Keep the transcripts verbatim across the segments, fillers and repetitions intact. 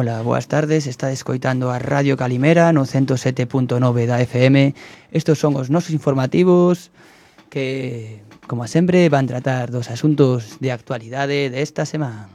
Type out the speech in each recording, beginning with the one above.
Ola, boas tardes, está escoitando a Radio Calimera no ciento sete punto nove da F M. Estos son os nosos informativos que, como sempre, van tratar dos asuntos de actualidade desta semana.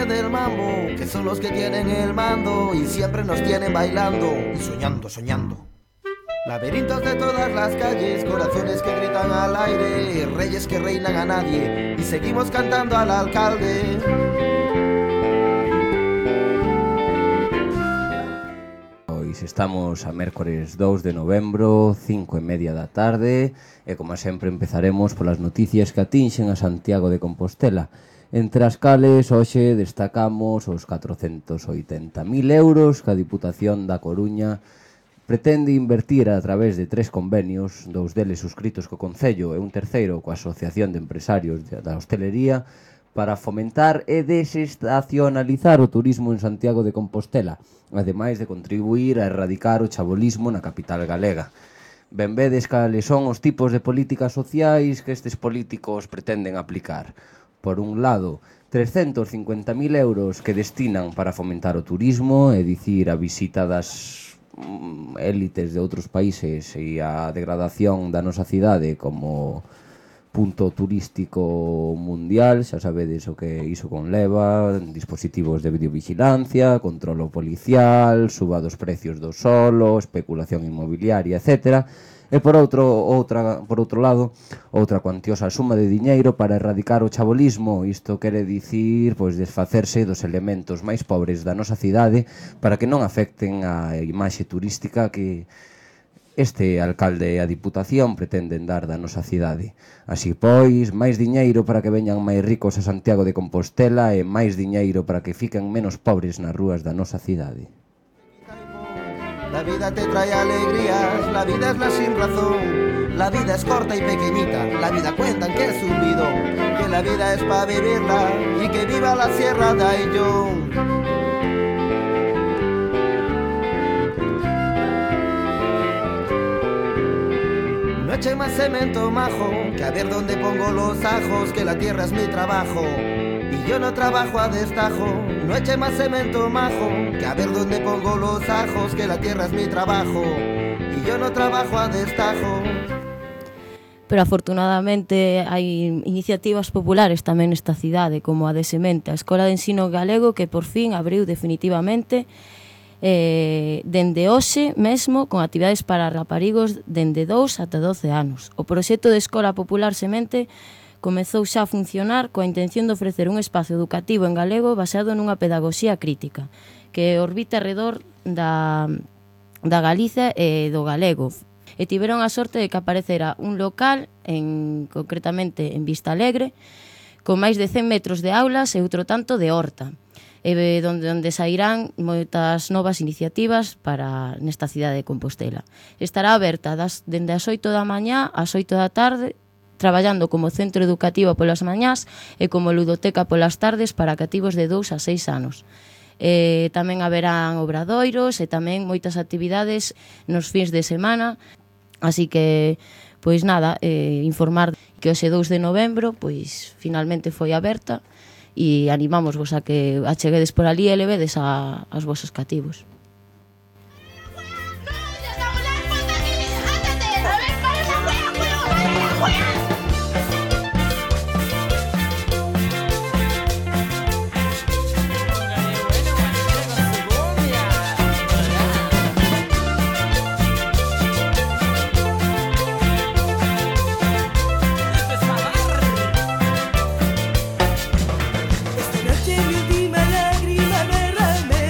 Del mambo, que son los que tienen el mando y siempre nos tienen bailando y soñando, soñando. Laberintos de todas las calles, corazones que gritan al aire, reyes que reinan a nadie y seguimos cantando al alcalde. Hoy estamos a mércores dous de novembro, cinco e media da tarde, e como sempre empezaremos polas noticias que atinxen a Santiago de Compostela. Entre as cales, hoxe destacamos os catrocentos oitenta mil euros que a Diputación da Coruña pretende invertir a través de tres convenios, dous deles suscritos co Concello e un terceiro coa Asociación de Empresarios da Hostelería, para fomentar e desestacionalizar o turismo en Santiago de Compostela, ademais de contribuir a erradicar o chabolismo na capital galega. Ben vedes cales son os tipos de políticas sociais que estes políticos pretenden aplicar. Por un lado, trescentos cincuenta mil euros que destinan para fomentar o turismo, é dicir, a visita das élites de outros países e a degradación da nosa cidade como punto turístico mundial. Xa sabedes o que iso conleva: dispositivos de videovigilancia, controlo policial, suba dos precios do solo, especulación inmobiliaria, etcétera. E por outro, outra, por outro lado, outra cuantiosa suma de diñeiro para erradicar o chabolismo. Isto quere dicir, pois, desfacerse dos elementos máis pobres da nosa cidade para que non afecten a imaxe turística que este alcalde e a Diputación pretenden dar da nosa cidade. Así pois, máis diñeiro para que veñan máis ricos a Santiago de Compostela e máis diñeiro para que fiquen menos pobres nas rúas da nosa cidade. La vida te trae alegrías, la vida es la sin razón. La vida es corta y pequeñita, la vida cuentan que es un bidón, que la vida es para vivirla y que viva la Sierra de Ayllón. No eche más cemento, majo, que a ver dónde pongo los ajos, que la tierra es mi trabajo y yo no trabajo a destajo. No eche más cemento, majo, que a ver dónde pongo los ajos, que la tierra es mi trabajo y yo no trabajo a destajo. Pero afortunadamente hai iniciativas populares tamén nesta cidade, como a de Semente, a Escola de Ensino Galego, que por fin abriu definitivamente eh, dende hoxe mesmo, con actividades para raparigos dende dous ata doce anos. O proxecto de Escola Popular Semente comezou xa a funcionar coa intención de ofrecer un espazo educativo en galego basado nunha pedagogía crítica que orbita alrededor da, da Galiza e do galego. E tiveron a sorte de que aparecera un local, en, concretamente en Vista Alegre, con máis de cen metros de aulas e outro tanto de horta, e donde, onde sairán moitas novas iniciativas para nesta cidade de Compostela. Estará aberta das, dende as oito da mañá ás oito da tarde, traballando como centro educativo polas mañás e como ludoteca polas tardes para cativos de dous a seis anos. E tamén haberán obradoiros e tamén moitas actividades nos fins de semana, así que, pois nada, eh, informar que hoxe dous de novembro, pois finalmente foi aberta e animámosvos a que acheguedes por ali e levedes a, aos vosos cativos. Esta noche mi última lágrima derramé.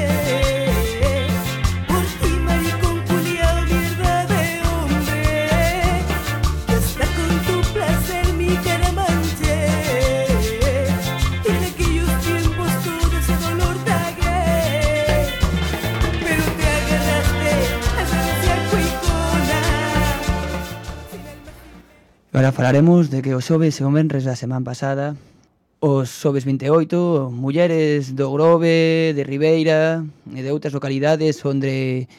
Agora falaremos de que os xoves e o venres da semana pasada, os xoves vinte e oito, mulleres do Grove, de Ribeira e de outras localidades onde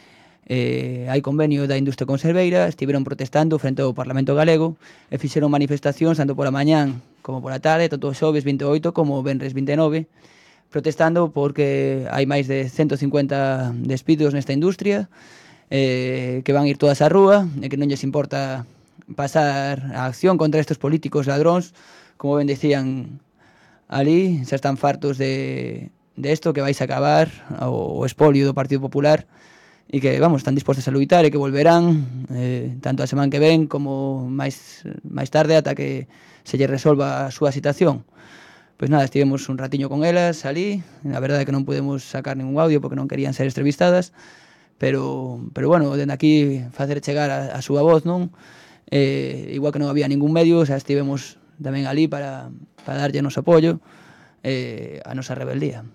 eh, hai convenio da industria conserveira, estiveron protestando frente ao Parlamento Galego e fixeron manifestacións tanto pola mañán como pola tarde, tanto os xoves vinte e oito como o venres vinte e nove, protestando porque hai máis de ciento cincuenta despidos nesta industria, eh, que van ir todas á rúa e que non lles importa pasar a acción contra estes políticos ladróns, como ben decían ali, xa están fartos de, de esto, que vais a acabar o, o espolio do Partido Popular e que, vamos, están dispostos a luitar e que volverán eh, tanto a semana que ven como máis, máis tarde ata que se lle resolva a súa situación. Pois nada, estivemos un ratiño con elas ali, a verdade é que non podemos sacar ningún audio porque non querían ser entrevistadas, pero, pero bueno, dende aquí facer chegar a, a súa voz, non? Eh, igual que non había ningún medio, xa estivemos tamén ali para, para darlle o noso apoio eh, a nosa rebeldía.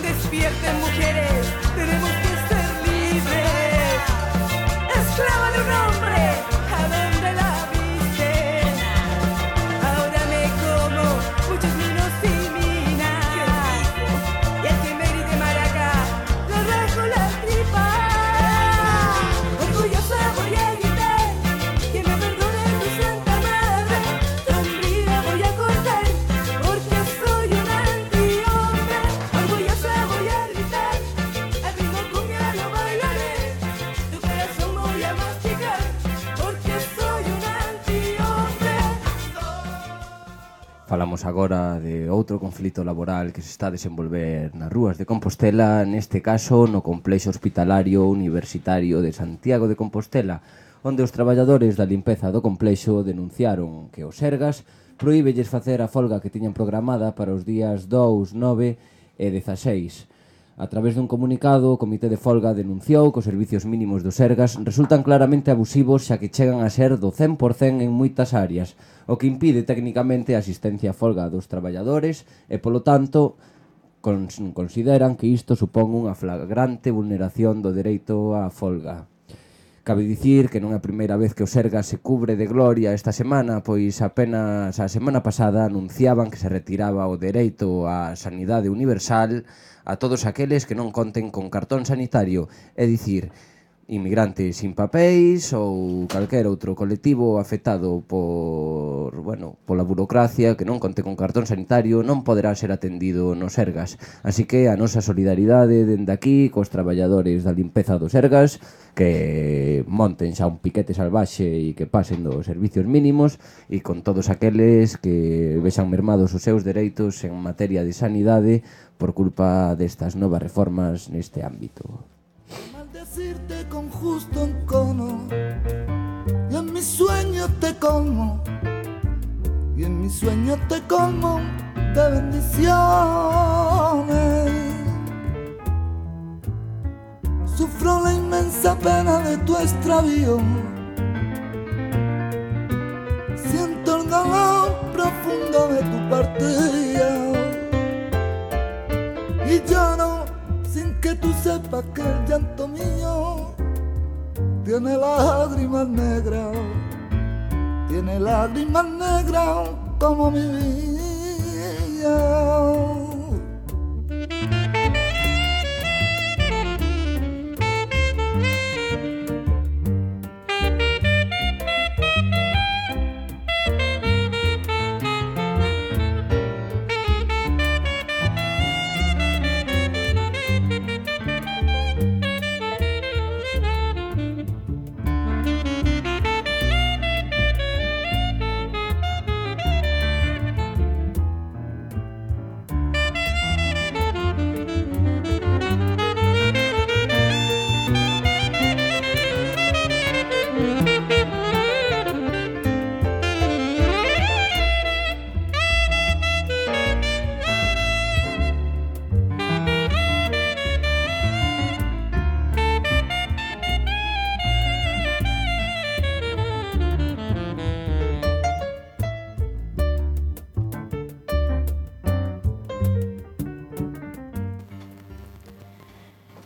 Despierten, mujeres, tenemos que ser libres. Esclava de un hombre, ¿a dónde la viste? Ahora me como muchos vinos y minas. Y el que me grite maraca, le rasgo la tripa. Orgullosa voy a gritar, que me perdone mi santa madre. Sombría voy a cortar, porque soy un antihombre. Orgullosa voy a gritar, al ritmo cumbia lo bailaré. Tu corazón voy a masticar, porque soy un antihombre. Falamos agora de outro conflito laboral que se está a desenvolver nas rúas de Compostela, neste caso no complexo hospitalario universitario de Santiago de Compostela, onde os traballadores da limpeza do complexo denunciaron que o Sergas prohíbelles facer a folga que tiñan programada para os días dous, nove e dezaseis. A través dun comunicado, o Comité de Folga denunciou que os servicios mínimos do Sergas resultan claramente abusivos xa que chegan a ser do cen por cento en moitas áreas, o que impide técnicamente a asistencia a folga dos traballadores e, polo tanto, consideran que isto supón unha flagrante vulneración do dereito á folga. Cabe dicir que non é a primeira vez que o Sergas se cubre de gloria esta semana, pois apenas a semana pasada anunciaban que se retiraba o dereito á sanidade universal a todos aqueles que non conten con cartón sanitario, é dicir, inmigrantes sin papéis ou calquera outro colectivo afectado por, bueno, pola burocracia que non conte con cartón sanitario non poderá ser atendido no Sergas. Así que a nosa solidaridade dende aquí cos traballadores da limpeza do Sergas que monten xa un piquete salvaxe e que pasen dos servicios mínimos e con todos aqueles que vexan mermados os seus dereitos en materia de sanidade por culpa destas novas reformas neste ámbito. Maldecirte con justo encono y en mis sueños te colmo y en mis sueños te colmo de bendiciones. Sufro la inmensa pena de tu extravío, siento el dolor profundo de tu partida y lloro sin que tú sepas que el llanto mío tiene lágrimas negras, tiene lágrimas negras como mi vida.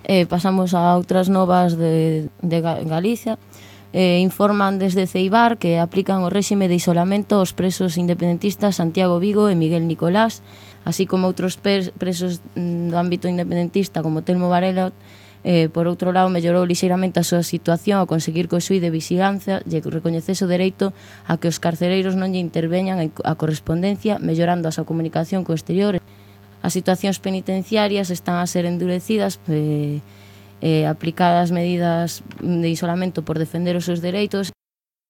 Eh, pasamos a outras novas de, de Galicia. eh, informan desde Ceibar que aplican o réxime de isolamento aos presos independentistas Santiago Vigo e Miguel Nicolás, así como outros presos do ámbito independentista como Telmo Varela. Eh, por outro lado, mellorou lixeiramente a súa situación ao conseguir que o xuíz de vigilancia lle recoñecese o dereito a que os carcereiros non lle interveñan a correspondencia, mellorando a súa comunicación co exterior. As situacións penitenciarias están a ser endurecidas, eh, eh, aplicadas medidas de isolamento por defender os seus dereitos.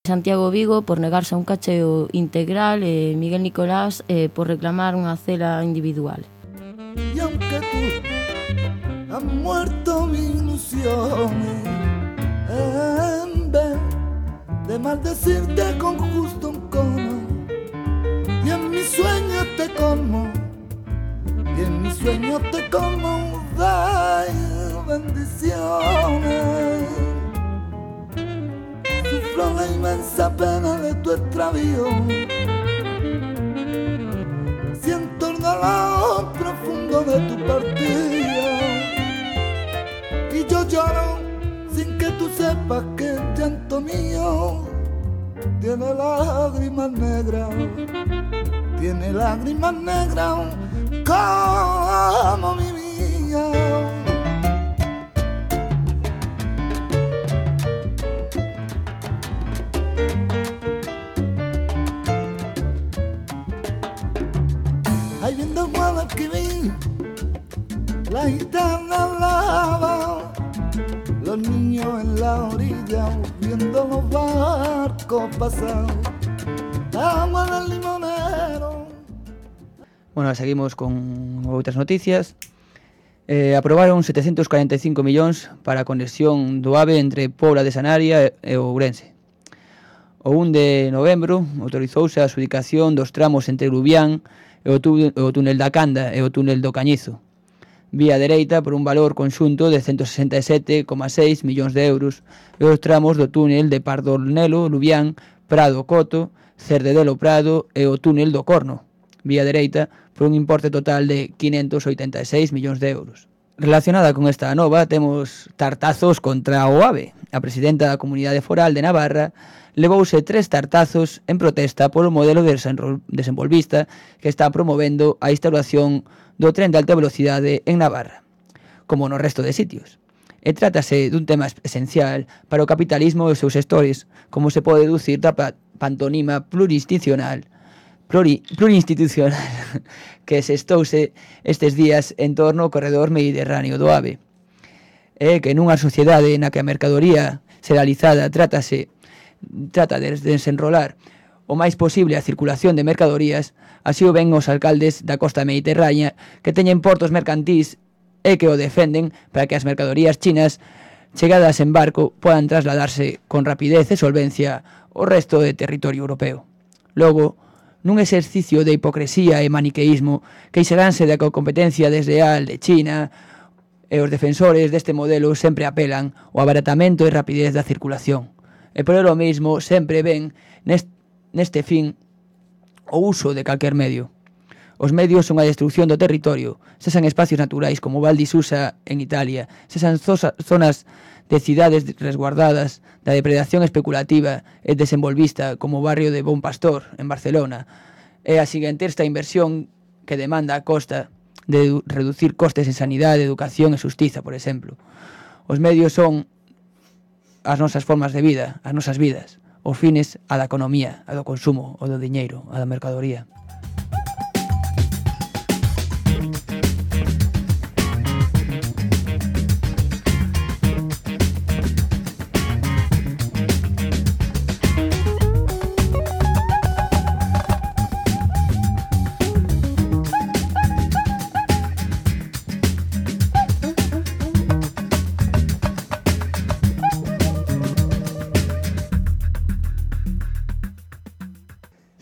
Santiago Vigo por negarse a un cacheo integral e Miguel Nicolás eh, por reclamar unha cela individual. Y aunque tú has muerto mi ilusión, en vez de maldecirte con justo un cono, y en mis sueños te como, y en mis sueños te como de bendiciones. Sufro la inmensa pena de tu extravío, siento el dolor profundo de tu partida, y yo lloro sin que tú sepas que el llanto mío tiene lágrimas negras, tiene lágrimas negras como mi vida. Ahí viendo Guadalquivir, la gitana lava, los niños en la orilla viendo los barcos pasar, agua del limonero. Bueno, seguimos con outras noticias. Eh, aprobaron setecientos cuarenta e cinco millóns para a conexión do AVE entre Pobla de Sanaria e Ourense. O un de novembro autorizouse a adxudicación dos tramos entre Lubián e o, tú, o túnel da Canda e o túnel do Cañizo, vía dereita por un valor conxunto de ciento sesenta e sete coma seis millóns de euros, e os tramos do túnel de Pardornelo, Lubián, Prado Coto, Cerdedelo Prado e o túnel do Corno, vía dereita por un importe total de quinhentos oitenta e seis millóns de euros. Relacionada con esta nova, temos tartazos contra o AVE. A presidenta da Comunidade Foral de Navarra levouse tres tartazos en protesta polo modelo de desenvolvista que está promovendo a instalación do tren de alta velocidade en Navarra, como no resto de sitios. E trátase dun tema esencial para o capitalismo e os seus sectores, como se pode deducir da pantonima plurinstitucional Pluri, plurinstitucional que se estouse estes días en torno ao corredor mediterráneo do AVE. É que nunha sociedade na que a mercadoría serializada trátase, trata de desenrolar o máis posible a circulación de mercadorías, así o ven os alcaldes da costa mediterránea que teñen portos mercantís e que o defenden para que as mercadorías chinas chegadas en barco podan trasladarse con rapidez e solvencia ao resto do territorio europeo. Logo, nun exercicio de hipocresía e maniqueísmo, queixaránse da competencia desleal de China, e os defensores deste modelo sempre apelan ao abaratamento e rapidez da circulación. E por lo mesmo sempre ven neste fin o uso de calquer medio. Os medios son a destrucción do territorio, sesan espacios naturais como Val di Susa en Italia, sesan zonas de cidades resguardadas da depredación especulativa e desenvolvista como o barrio de Bon Pastor en Barcelona, e a seguinte esta inversión que demanda a costa de reducir costes en sanidade, educación e xustiza, por exemplo. Os medios son as nosas formas de vida, as nosas vidas, os fines a da economía, a do consumo, o do diñeiro, a da mercadoría.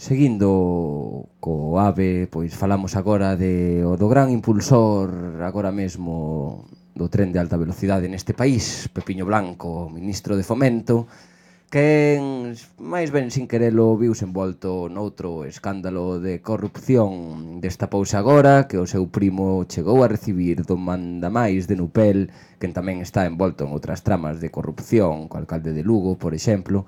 Seguindo co AVE, pois falamos agora de o do gran impulsor agora mesmo do tren de alta velocidade neste país, Pepiño Blanco, ministro de Fomento, Quen, máis ben sin querelo, viuse envolto noutro escándalo de corrupción, destapouse agora que o seu primo chegou a recibir do mandamais de Nupel, quen tamén está envolto en outras tramas de corrupción, co alcalde de Lugo, por exemplo.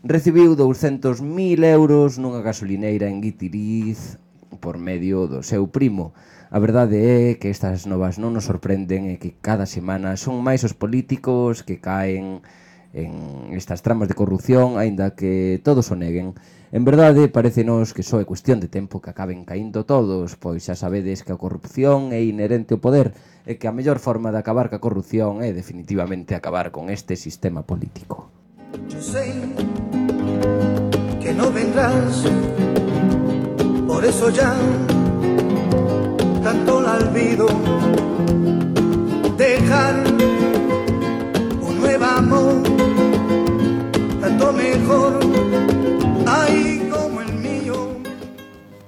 Recibiu douscentos mil euros nunha gasolineira en Guitiriz por medio do seu primo. A verdade é que estas novas non nos sorprenden e que cada semana son máis os políticos que caen en estas tramas de corrupción, aínda que todos o neguen. En verdade, parecenos que só é cuestión de tempo que acaben caíndo todos, pois xa sabedes que a corrupción é inherente ao poder e que a mellor forma de acabar ca corrupción é definitivamente acabar con este sistema político. Yo sé que no vendrás, por eso ya tanto la olvido. Dejar un nuevo amor, tanto mejor, ay, como el mío.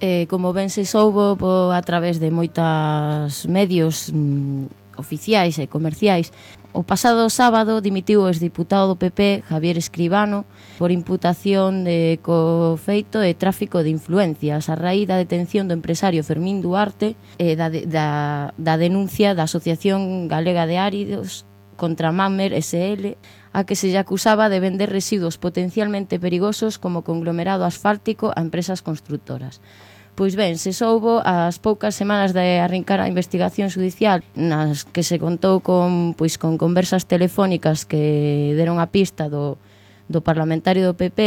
Eh, como ben se soubo po, a través de moitas medios mm, oficiais e comerciais, o pasado sábado dimitiu o exdiputado do P P, Javier Escribano, por imputación de cofeito e tráfico de influencias a raíz da detención do empresario Fermín Duarte e da, da, da denuncia da Asociación Galega de Áridos contra Mamer S L, a que se lle acusaba de vender residuos potencialmente perigosos como conglomerado asfáltico a empresas constructoras. Pois ben, se soubo as poucas semanas de arrincar a investigación judicial nas que se contou con, pois, con conversas telefónicas que deron a pista do, do parlamentario do P P,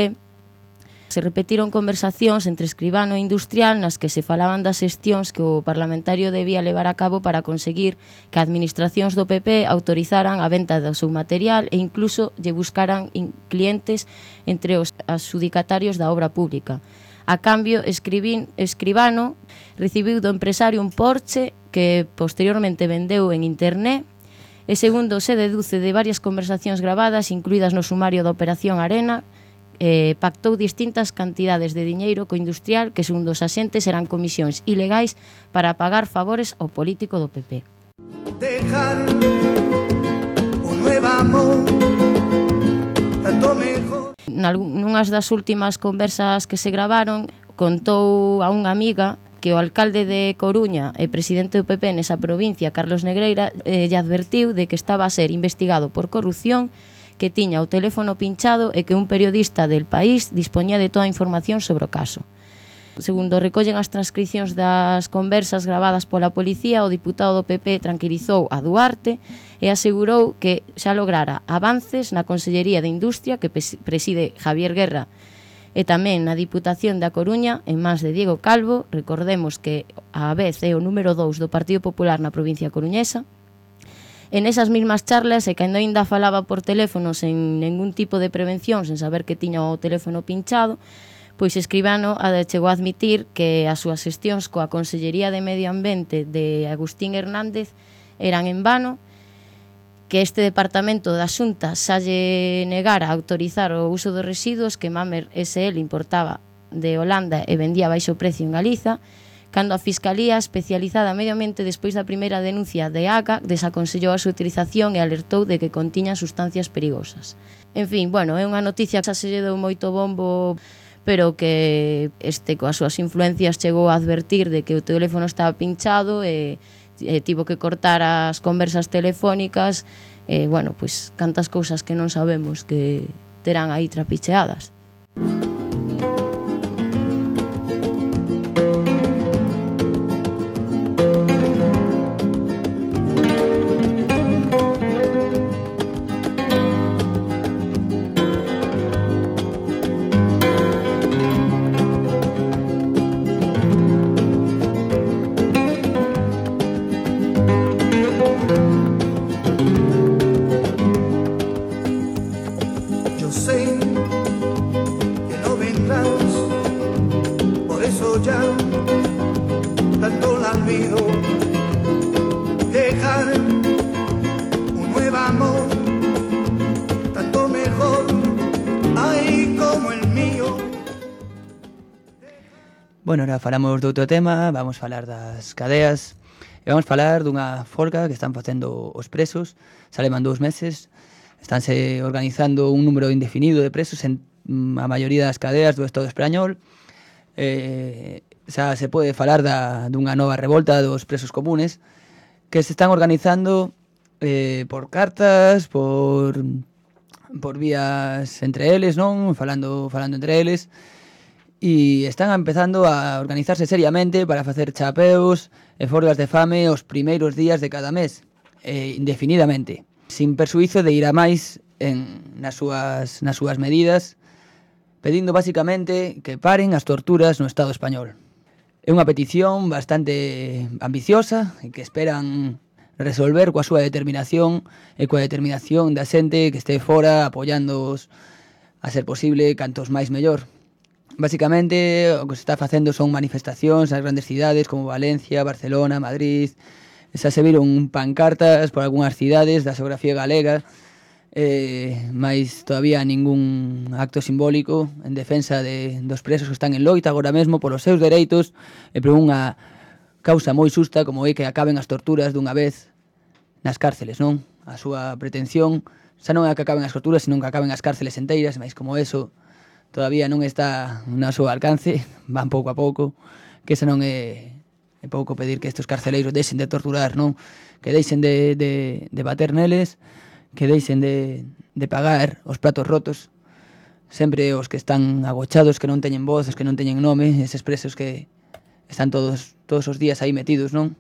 se repetiron conversacións entre Escribano e Industrial nas que se falaban das xestións que o parlamentario debía levar a cabo para conseguir que administracións do P P autorizaran a venta do seu material e incluso lle buscaran clientes entre os adxudicatarios da obra pública. A cambio, Escribín, Escribano recibiu do empresario un Porsche que posteriormente vendeu en internet e, segundo se deduce de varias conversacións gravadas, incluídas no sumario da Operación Arena, eh, pactou distintas cantidades de diñeiro co Industrial que, segundo os axentes, eran comisións ilegais para pagar favores ao político do P P. Dejar un nuevo amor, tanto mejor. Nunhas das últimas conversas que se gravaron, contou a unha amiga que o alcalde de Coruña e presidente do P P nesa provincia, Carlos Negreira, eh, lle advertiu de que estaba a ser investigado por corrupción, que tiña o teléfono pinchado e que un periodista del País dispoñía de toda a información sobre o caso. Segundo recollen as transcripcións das conversas gravadas pola policía, o diputado do P P tranquilizou a Duarte e asegurou que xa lograra avances na Consellería de Industria que preside Javier Guerra e tamén na Diputación da Coruña en mans de Diego Calvo. Recordemos que a vez é o número dous do Partido Popular na provincia coruñesa. En esas mismas charlas, e cando ainda falaba por teléfono sen ningún tipo de prevención, sen saber que tiña o teléfono pinchado, pois Escribano chegou a admitir que as súas xestións coa Consellería de Medio Ambiente de Agustín Hernández eran en vano, que este departamento da Xunta xa lle negara a autorizar o uso dos residuos que Mamer S L importaba de Holanda e vendía a baixo precio en Galiza, cando a Fiscalía especializada en Medio Ambiente, despois da primeira denuncia de A C A, desaconsellou a súa utilización e alertou de que contiñan sustancias perigosas. En fin, bueno, é unha noticia que xa se lle deu moito bombo, pero que este coas súas influencias chegou a advertir de que o teléfono estaba pinchado e, e tivo que cortar as conversas telefónicas e, bueno, pois cantas cousas que non sabemos que terán aí trapicheadas. Bueno, ahora falamos de outro tema, vamos falar das cadeas e vamos falar dunha folga que están facendo os presos, xa levan dous meses, Estánse organizando un número indefinido de presos en mm, a maioría das cadeas do Estado español. Eh, xa se pode falar da, dunha nova revolta dos presos comunes que se están organizando eh, por cartas, por por vías entre eles, non? Falando, falando entre eles, e están empezando a organizarse seriamente para facer chapeos e folgas de fame os primeiros días de cada mes, eh, indefinidamente, sin persuízo de ir a máis en, nas, súas, nas súas medidas, pedindo basicamente que paren as torturas no Estado español. É unha petición bastante ambiciosa e que esperan resolver coa súa determinación e coa determinación da xente que este fora apoiándoos a ser posible cantos máis mellor. Basicamente, o que se está facendo son manifestacións nas grandes cidades como Valencia, Barcelona, Madrid. Xa se viron pancartas por algunhas cidades da xeografía galega, eh, máis todavía ningún acto simbólico en defensa de, dos presos que están en loita agora mesmo polos seus dereitos e por unha causa moi xusta como é que acaben as torturas dunha vez nas cárceles, non? A súa pretensión xa non é que acaben as torturas, senón que acaben as cárceles enteiras, máis como eso todavía non está no seu alcance, van pouco a pouco, que xa non é, é pouco pedir que estes carceleiros deixen de torturar, non? Que deixen de, de, de bater neles, que deixen de, de pagar os pratos rotos, sempre os que están agochados, que non teñen voz, os que non teñen nome, eses presos que están todos todos os días aí metidos, non?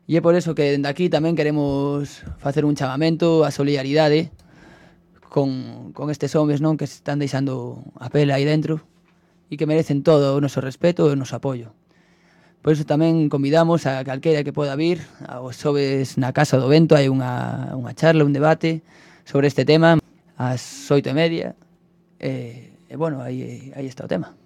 E é por eso que dende aquí tamén queremos facer un chamamento a solidaridade con, con estes homes, non, que se están deixando a pela aí dentro e que merecen todo o noso respeto e o noso apoio. Por iso tamén convidamos a calquera que poda vir. Aos xoves na Casa do Vento hai unha, unha charla, un debate sobre este tema ás oito e media. E, e bueno, aí, aí está o tema.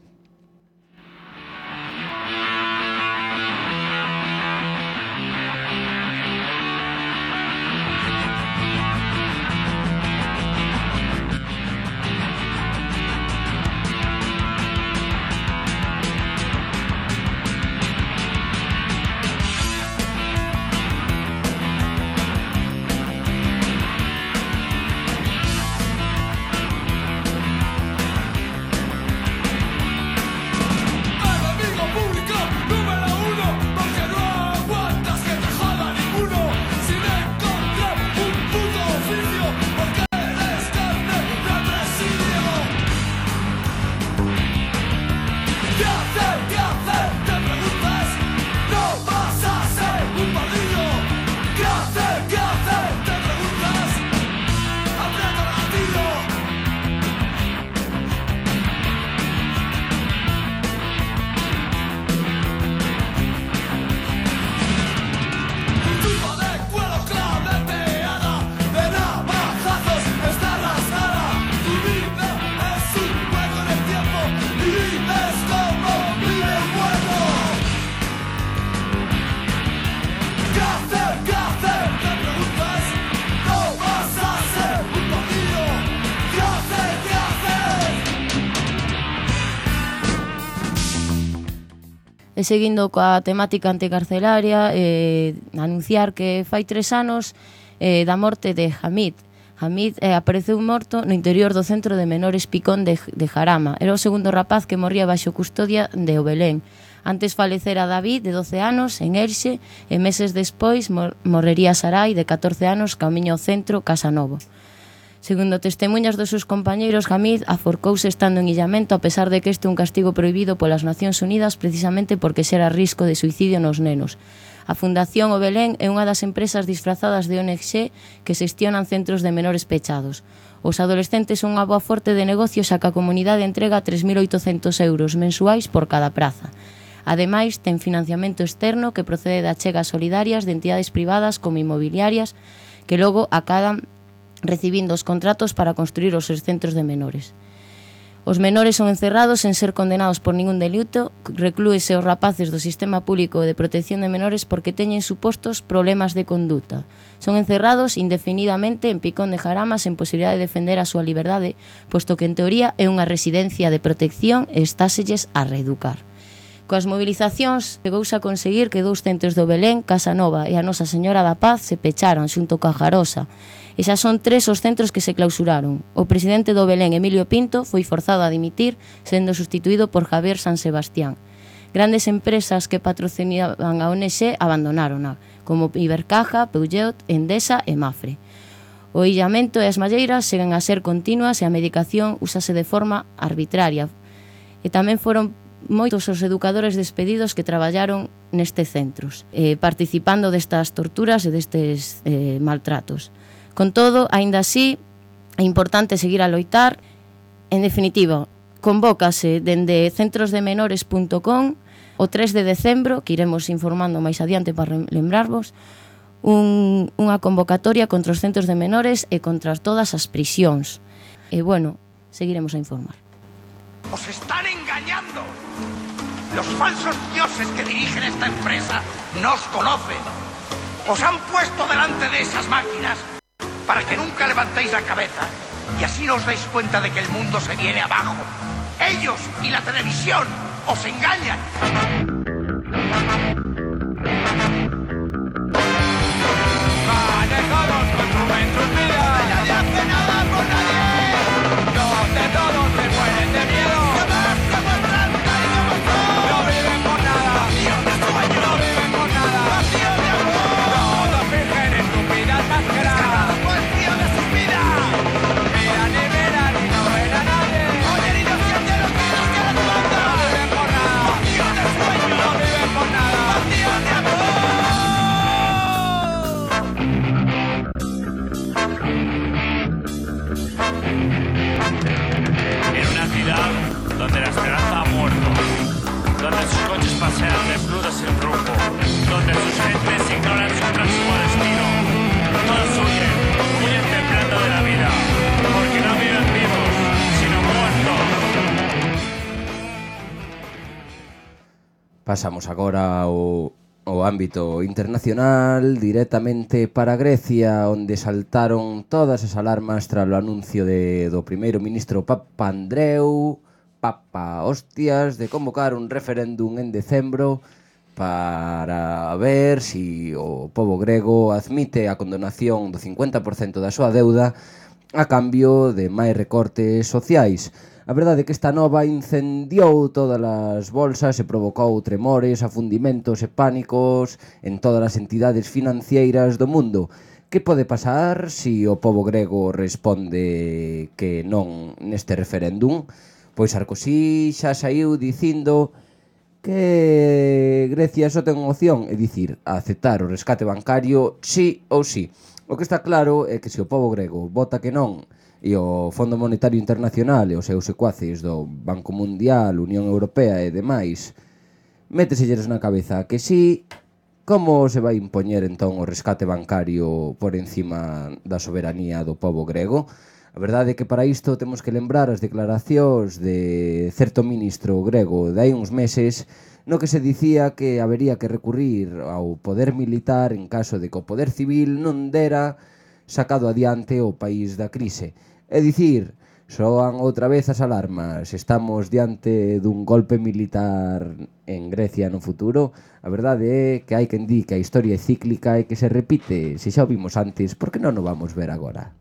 E seguindo coa temática anticarcelaria, eh, anunciar que fai tres anos eh, da morte de Hamid. Hamid eh, apareceu morto no interior do centro de menores Picón de, de Jarama. Era o segundo rapaz que morría baixo custodia de o Belén. Antes falecera David, de doce anos, en Elxe, e meses despois mor morrería Sarai, de catorce anos, camiño ao centro, Casa Novo. Segundo testemunhas dos seus compañeiros, Hamid aforcouse estando en illamento a pesar de que este é un castigo prohibido polas Nacións Unidas precisamente porque xera risco de suicidio nos nenos. A Fundación O Belén é unha das empresas disfrazadas de O N G que xestionan centros de menores pechados. Os adolescentes son unha boa forte de negocio xa que a comunidade entrega tres mil oitocentos euros mensuais por cada praza. Ademais, ten financiamento externo que procede de achegas solidarias de entidades privadas como inmobiliarias que logo acadan recibindo os contratos para construir os seus centros de menores. Os menores son encerrados sen ser condenados por ningún delito, reclúese os rapaces do sistema público de protección de menores porque teñen supostos problemas de conduta. Son encerrados indefinidamente en Picón de Jarama sen posibilidade de defender a súa liberdade, posto que en teoría é unha residencia de protección e estáselles a reeducar. Coas movilizacións, chegouse a conseguir que dous centros do Belén, Casa Nova e a Nosa Señora da Paz se pecharan xunto coa Jarosa, E xa son tres os centros que se clausuraron. O presidente do Belén, Emilio Pinto, foi forzado a dimitir, sendo sustituído por Javier San Sebastián. Grandes empresas que patrocinaban a O N G abandonárona, como Ibercaja, Peugeot, Endesa e Mafre. O illamento e as malleiras seguen a ser continuas e a medicación úsase de forma arbitraria. E tamén foron moitos os educadores despedidos que traballaron nestes centros, eh, participando destas torturas e destes eh, maltratos. Con todo, aínda así, é importante seguir a loitar. En definitiva, convócase dende centrosdemenores punto com o tres de decembro, que iremos informando máis adiante para lembrarvos, un, unha convocatoria contra os centros de menores e contra todas as prisións. E, bueno, seguiremos a informar. ¡Os están engañando! Los falsos dioses que dirigen esta empresa no os conocen. Os han puesto delante de esas máquinas para que nunca levantéis la cabeza y así no os dais cuenta de que el mundo se viene abajo. Ellos y la televisión os engañan. Manejados con su mentira. Nadie hace nada por nadie. Donde todos se mueren de miedo. Jamás demuestran cariño por favor. No viven por nada. Vacío de sueño. No viven por nada. Vacío de amor. Todos fingen estúpidas máscaras. Cada cuestión de sus vidas. Miran y miran y no ven a nadie. Oyen y no sienten los gritos que les mandan. No viven por nada. Vacío de sueño. No viven por nada. Vacío de amor. En una ciudad donde la esperanza ha muerto, donde sus coches pasean desnudos sin rumbo, donde sus gentes ignoran su próximo destino, todos huyen, huyen temblando de la vida, porque no viven vivos, sino muertos. Pasamos agora ao, ao ámbito internacional, directamente para Grecia, onde saltaron todas as alarmas tras o anuncio de, do primeiro ministro Papa Andreu, Papa Hostias, de convocar un referéndum en decembro para ver si o pobo grego admite a condonación do cincuenta por cento da súa deuda a cambio de máis recortes sociais. A verdade é que esta nova incendiou todas as bolsas e provocou tremores, afundimentos e pánicos en todas as entidades financeiras do mundo. Que pode pasar se o pobo grego responde que non neste referéndum? Pois Sarkozy xa saiu dicindo que Grecia só ten unha opción, é dicir, a aceptar o rescate bancario sí ou sí. O que está claro é que se o pobo grego vota que non e o Fondo Monetario Internacional e os seus secuaces do Banco Mundial, Unión Europea e demais méteselles na cabeza que sí, como se vai impoñer entón o rescate bancario por encima da soberanía do pobo grego? A verdade é que para isto temos que lembrar as declaracións de certo ministro grego de hai uns meses no que se dicía que habería que recurrir ao poder militar en caso de que o poder civil non dera sacado adiante o país da crise. É dicir, soan outra vez as alarmas. Estamos diante dun golpe militar en Grecia no futuro. A verdade é que hai quen di que a historia é cíclica e que se repite. Se xa o vimos antes, por que non o vamos ver agora?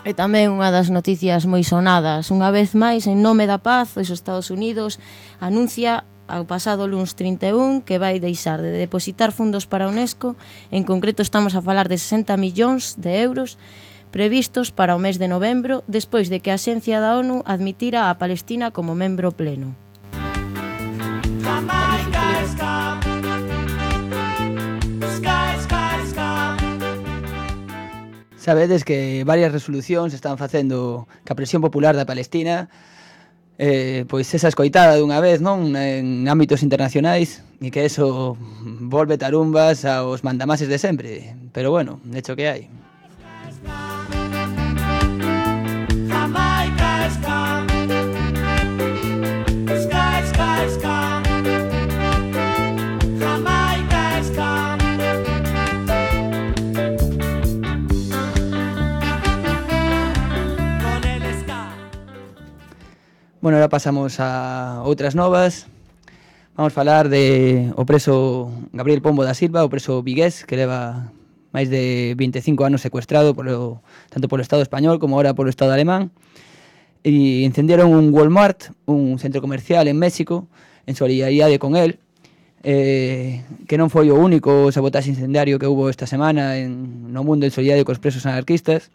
E tamén unha das noticias moi sonadas, unha vez máis, en nome da paz, os Estados Unidos anuncia ao pasado luns trinta e un que vai deixar de depositar fundos para a UNESCO. En concreto estamos a falar de sesenta millóns de euros previstos para o mes de novembro, despois de que a Axencia da ONU admitira a Palestina como membro pleno. Sabedes que varias resolucións están facendo que a presión popular da Palestina eh, pois esa escoitada dunha vez, non, en ámbitos internacionais, e que eso volve tarumbas aos mandamases de sempre. Pero bueno, de hecho que hai. Bueno, ahora pasamos a outras novas. Vamos falar de o preso Gabriel Pombo da Silva, o preso vigués, que leva máis de vinte e cinco anos secuestrado polo, tanto polo Estado español como ahora polo Estado alemán. E incendiaron un Walmart, un centro comercial en México, en solidariedade con él, eh, que non foi o único sabotaxe incendiario que hubo esta semana en, no mundo en solidariedade cos presos anarquistas,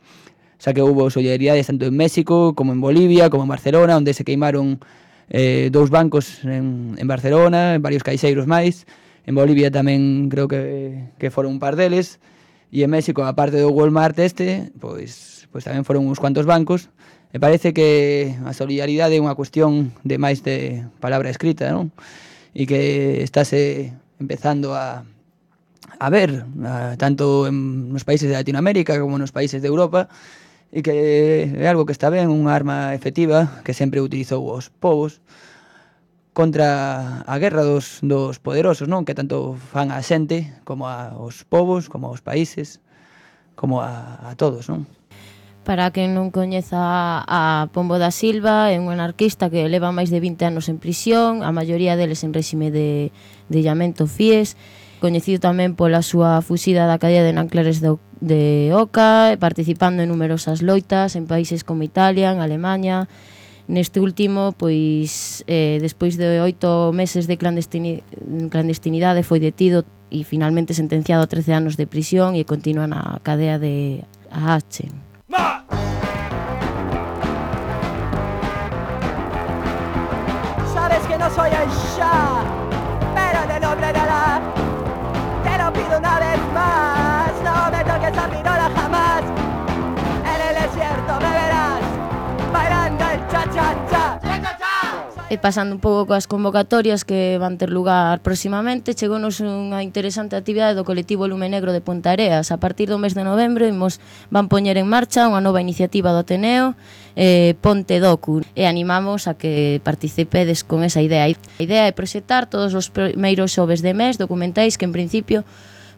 xa que hubo solidaridades tanto en México como en Bolivia, como en Barcelona, onde se queimaron eh, dous bancos en, en Barcelona, en varios caixeiros máis. En Bolivia tamén creo que, que foron un par deles, e en México, aparte do Walmart este, pois, pois tamén foron uns cuantos bancos. Me parece que a solidaridade é unha cuestión de máis de palabra escrita, non? E que estáse empezando a, a ver, a, tanto en nos países de Latinoamérica como nos países de Europa, e que é algo que está ben, unha arma efectiva que sempre utilizou os povos contra a guerra dos, dos poderosos, non? Que tanto fan a xente como aos povos, como aos países, como a, a todos, non? Para quen non coñeza a Pombo da Silva, é un anarquista que leva máis de vinte anos en prisión, a maioría deles en réxime de, de illamento Fies, coñecido tamén pola súa fuxida da cadea de Nanclares de, de Oca, participando en numerosas loitas en países como Italia, en Alemanha. Neste último, pois, eh, despois de oito meses de clandestini, clandestinidade, foi detido e finalmente sentenciado a trece anos de prisión e continúa na cadea de Aachen. Sabes que no soy el Shah, pero en el nombre de Alá te lo pido una vez más. No me toques a pirola jamás. En el desierto me verás bailando el cha-cha-cha. E pasando un pouco coas convocatorias que van ter lugar próximamente, chegounos unha interesante actividade do colectivo Lume Negro de Ponteareas. A partir do mes de novembro imos, van poñer en marcha unha nova iniciativa do Ateneo, eh, Ponte Docu, e animamos a que participedes con esa idea. A idea é proxectar todos os primeiros xoves de mes documentais que en principio,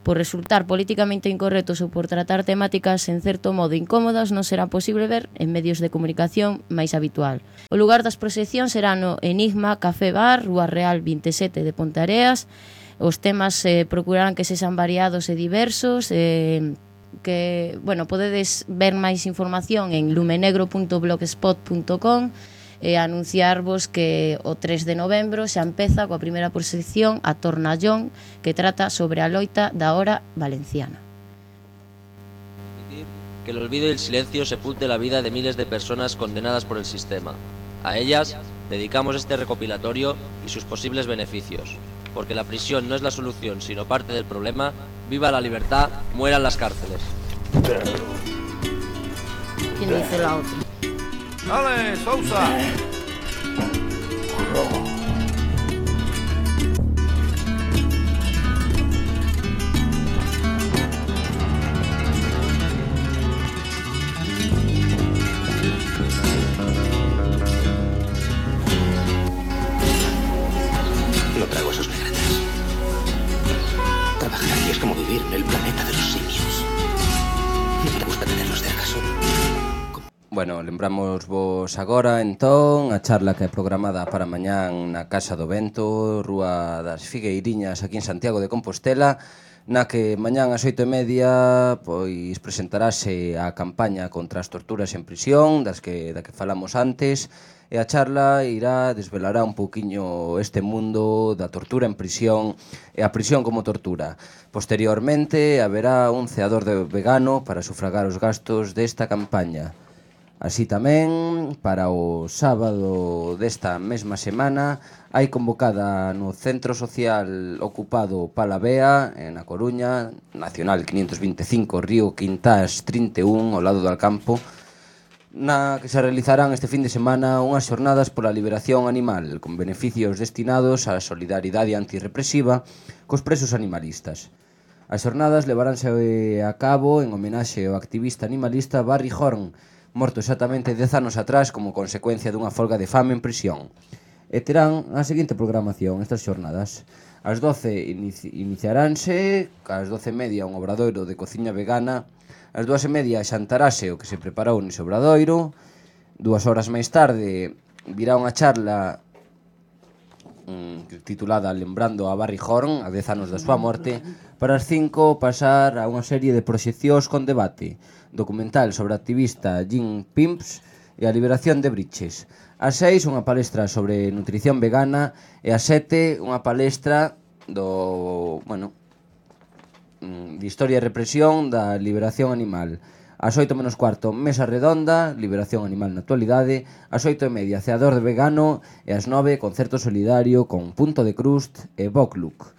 por resultar políticamente incorrectos ou por tratar temáticas en certo modo incómodas, non será posible ver en medios de comunicación máis habitual. O lugar das proxeccións será no Enigma Café Bar, Rúa Real vinte e sete de Ponteareas. Os temas eh, procurarán que sexan variados e diversos, eh, que, bueno, podedes ver máis información en lumenegro punto blogspot punto com e anunciarvos que o tres de novembro xa empeza coa primeira proxección a Tornallón, que trata sobre a loita da hora valenciana. Que el olvido y el silencio sepulte la vida de miles de personas condenadas por el sistema. A ellas dedicamos este recopilatorio y sus posibles beneficios, porque la prisión no es la solución, sino parte del problema. Viva la libertad, mueran las cárceles. ¿Quién dice la otra? ¡Dale, Sousa! No trago esos negretes. Trabajar aquí es como vivir en el planeta de los simios. ¿No te gusta tenerlos de acaso? Bueno, lembramos vos agora, entón, a charla que é programada para mañán na Casa do Vento, Rúa das Figueiriñas, aquí en Santiago de Compostela, na que mañán ás oito e media pois presentarase a campaña contra as torturas en prisión, das que, da que falamos antes, e a charla irá, desvelará un pouquiño este mundo da tortura en prisión e a prisión como tortura. Posteriormente, haberá un ceador de vegano para sufragar os gastos desta campaña. Así tamén, para o sábado desta mesma semana, hai convocada no Centro Social Ocupado Palavea, na Coruña, Nacional quinientos vinte e cinco, Río Quintás trinta e un, ao lado do Alcampo, na que se realizarán este fin de semana unhas xornadas pola liberación animal, con beneficios destinados á solidaridade antirrepresiva cos presos animalistas. As xornadas levaránse a cabo en homenaxe ao activista animalista Barry Horn, morto exactamente dez anos atrás como consecuencia dunha folga de fame en prisión. E terán a seguinte programación estas xornadas. Ás doce inici iniciaránse, ás doce e media un obradoiro de cociña vegana, ás dúas e media xantarase o que se preparou nese obradoiro, dúas horas máis tarde virá unha charla mm, titulada Lembrando a Barry Horn, a dez anos da súa morte. Para as cinco pasar a unha serie de proxeccións con debate, documental sobre a activista Jean Pimps e a liberación de Briches. As seis unha palestra sobre nutrición vegana e as sete unha palestra do, bueno, de historia e represión da liberación animal. As oito menos cuarto, mesa redonda, liberación animal na actualidade. As oito e media, ceador de vegano. E as nove, concerto solidario con Punto de Crust e Bokluk.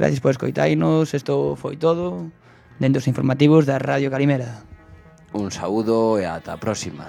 Gracias por escoitainos, isto foi todo dentro dos informativos da Radio Calimera. Un saúdo e ata a próxima.